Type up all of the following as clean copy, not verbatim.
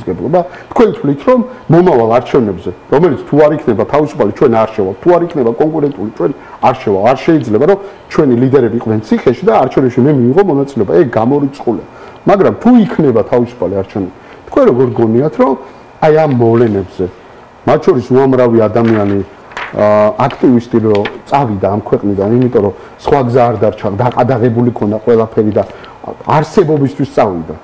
პასუხისმგებლობა. თქვენ თვლით, რომ მომავალ არჩევნებზე, რომელიც თუ არ იქნება თავისუფალი, ჩვენ არ შევალ, თუ არ იქნება კონკურენტული, ჩვენ არ შევალ, არ შეიძლება, რომ ჩვენი ლიდერები იყვნენ ციხეში და არჩევნებში მე მიიღო მონაწილეობა. ეგ გამორიცხულია. მაგრამ თუ იქნება თავისუფალი არჩევნები, თქვენ როგორ გონიათ, რომ აი ამ მოვლენებზე, მათ შორის უამრავი ადამიანი აქტივისტი რომ წავიდა ამ ქვეყნიდან, იმიტომ რომ სხვა გზა არ დარჩა, დაყადაღებული ქონდა ყველაფერი და არსებობისთვის წავიდა.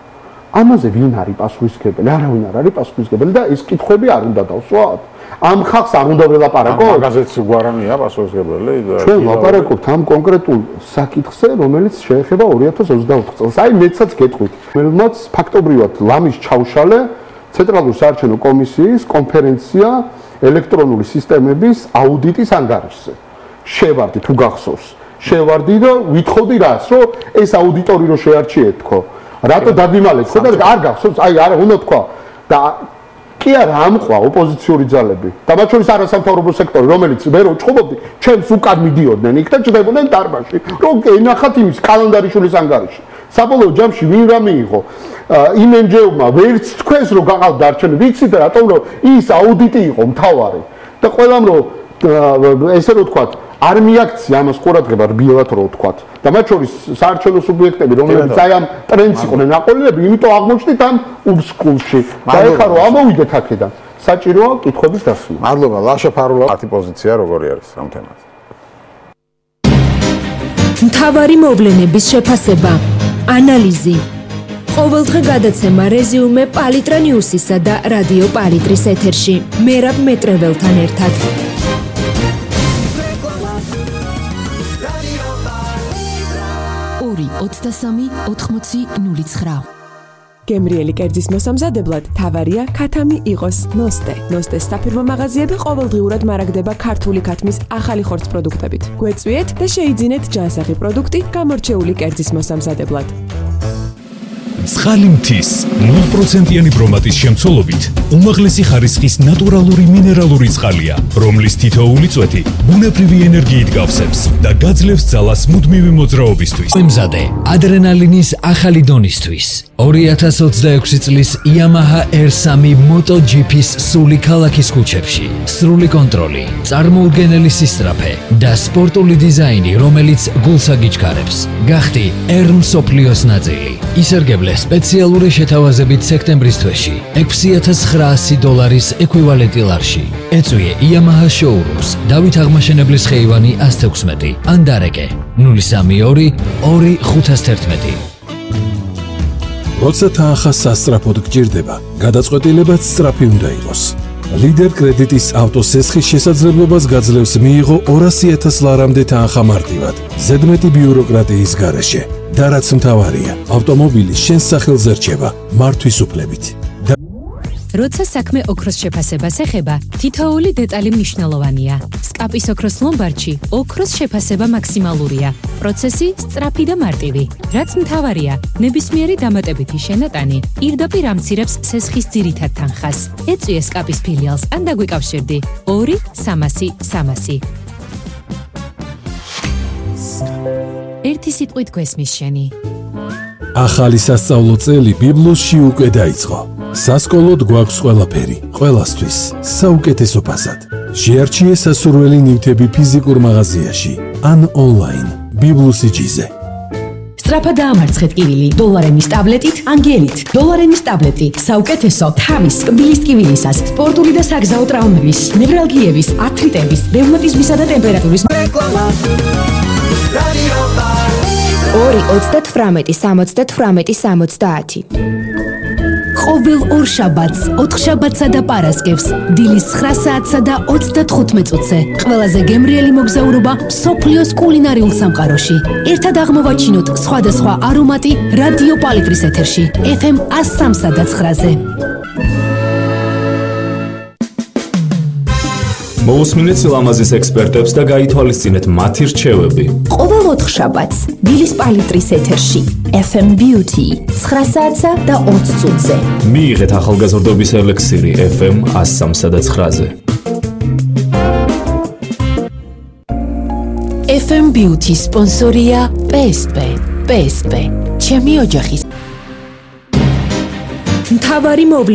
ამაზე ვინ არის პასუხისმგებელი? არავინ არ არის პასუხისმგებელი და ეს კითხვები არ უნდა დავსვათ. ამ ხალხს არ უნდა ველაპარაკოთ? მაგაზეც გვარამია პასუხისმგებელი და ჩვენ ვლაპარაკობთ ამ კონკრეტულ საკითხზე, რომელიც შეეხება 2024 წელს. აი მეცაც გეტყვით, რომელმაც ფაქტობრივად ლამის ჩაუშალე ცენტრალური საარჩევნო კომისიის კონფერენცია ელექტრონული სისტემების აუდიტის ანგარიშზე. შევარდი თუ გახსოვს. შევარდი და ვითხოვდი რას, რომ ეს აუდიტორი რო შეარჩიეთ თქო. რატო დაგიმალეთ ხო და არ გახსოვს? აი არა უნდა თქვა და კი არა ამყვა ოპოზიციური ძალები და მათ შორის არასამთავრობო სექტორი, რომელიც მე რო ჭხობობდი, ჩემს უკან მიდიოდნენ იქ და ჭდებოდნენ დარბაზში, რომ ენახათ იმის კალენდარიშვილის ანგარიში. საბოლოო ჯამში ვინ რა მიიღო? იმენჯეუმა ვერც თქვენს რო გაყავდა არჩევნები, ვიცით რატომ რომ ის აუდიტი იყო მთავარი და ყველამ რომ ესე რო თქვა არ მიაქცია ამას ყურადღება რბილად რო თქვა და მათ შორის საარჩევნო სუბიექტები რომლებიც აი ამ ტრენდს იყვნენ აყოლილები, იმიტომ აღმოჩნდით ამ უბსკულში და ეხლა რომ ამოვიდეთ აქედან საჭიროა კითხვების დასმა. მადლობა. ლაშა ფარულა, მათი პოზიცია როგორი არის ამ თემაზე? მთავარი მოვლენების შეფასება, ანალიზი. ყოველდღე გადაცემა რეზიუმე პალიტრა ნიუსისა და რადიო პალიტრის ეთერში. მერაბ მეტრეველთან ერთად. 23-80-09. გემრიელი კერძის მოსამზადებლად თავარია ქათამი იყოს ნოსტე. ნოსტეს საფირმო მაღაზიები ყოველდღიურად მარაგდება ქართული ქათმის ახალი ხორცს პროდუქტებით. გვეწვიეთ და შეიძინეთ ჯანსაღი პროდუქტი გამორჩეული კერძის მოსამზადებლად. ცხალი მთის 0%-იანი ბრომატის შემცველობით უმაღლესი ხარისხის ნატურალური მინერალური წყალია, რომლის თითოეული წვეთი ბუნებრივი ენერგიით გავსებს და გაძლევს ძალას მუდმივი მოძრაობისთვის. მზადე ადრენალინის ახალი დონისთვის 2026 წლის Yamaha R3 MotoGP-ს სული ქალაქის ქუჩებში. სრული კონტროლი, წარმოუდგენელი სისწრაფე და სპორტული დიზაინი, რომელიც გულს აგიჩქარებს. გახდი R მსოფლიოს ნაწილი. ისერგებლე სპეციალური შეთავაზებით სექტემბრის თვეში $6,900 ეკვივალენტი ლარში. ეწვიე Yamaha showrooms დავით აღმაშენებლის ხეივანი 116 ან დარეკე 032 2511. როცა თანხა სასწრაფოდ გჭირდება, გადაწყვეტილებაც სწრაფი უნდა იყოს. ლიდერ კრედიტის ავტოსესხის შესაძლებლობას გაძლევს მიიღო $200,000-მდე თანხა მარტივად, ზედმეტი ბიუროკრატიის გარეშე. და რაც მთავარია, ავტომობილი შენს სახელზე რჩება მართვის უფლებით. როცა საქმე ოქროს შეფასებას ეხება, თითოეული დეტალი მნიშვნელოვანია. სკაპის ოქროს ლომბარდში ოქროს შეფასება მაქსიმალურია. პროცესი სწრაფი და მარტივი. რაც მთავარია, ნებისმიერი დამატებითი შენატანი პირდაპირ ამცირებს სესხის ძირითად თანხას. ეწვიე სკაპის ფილიალს ან დაგვიკავშირდი 2-300-300. ერთი სიტყვით გვესმის შენი. ახალი სასწავლო წელი ბიბლოსში უკვე დაიწყო. სასკოლოდ გვაქვს ყველაფერი, ყველასთვის, საუკეთესო ფასად. შეარჩიე სასურველი ნივთები ფიზიკურ მაღაზიაში ან ონლაინ ბიბლოსიჯიზე. სწრაფად დაამარცხეთ კივილი დოლარენის ტაბლეტით, ანგელით. დოლარენის ტაბლეტი საუკეთესო თავის, კბილის ტკივილისას, სპორტული და საგზაო ტრავმების, ნევრალგიების, ართრიტების, რევმატიზმისა და ტემპერატურის 2-38-70-70. ყოველ ორ შაბათს, 4 შაბათსა და პარასკევს, დილის 9 საათსა და 35 წუთზე, ყველაზე გემრიელი მოგზაურობა მსოფლიოს კულინარიულ სამყაროში. ერთად აღმოვაჩინოთ სხვადასხვა არომატი რადიო პალიტრის ეთერში, FM 103 და 9-ზე. მოусმინეთ სილამაზის ექსპერტებს და გაითვალისწინეთ მათი რჩევები. ყოველ 4 შაბათს, დილის პალიტრის ეთერში, FM Beauty 9 საათსა და 20 წუთზე. მიიღეთ ახალგაზრდობის ელექსირი FM 103 და 9-ზე. FM Beauty სპონსორია PSP. PSP. ჩემი ოჯახის მთავარი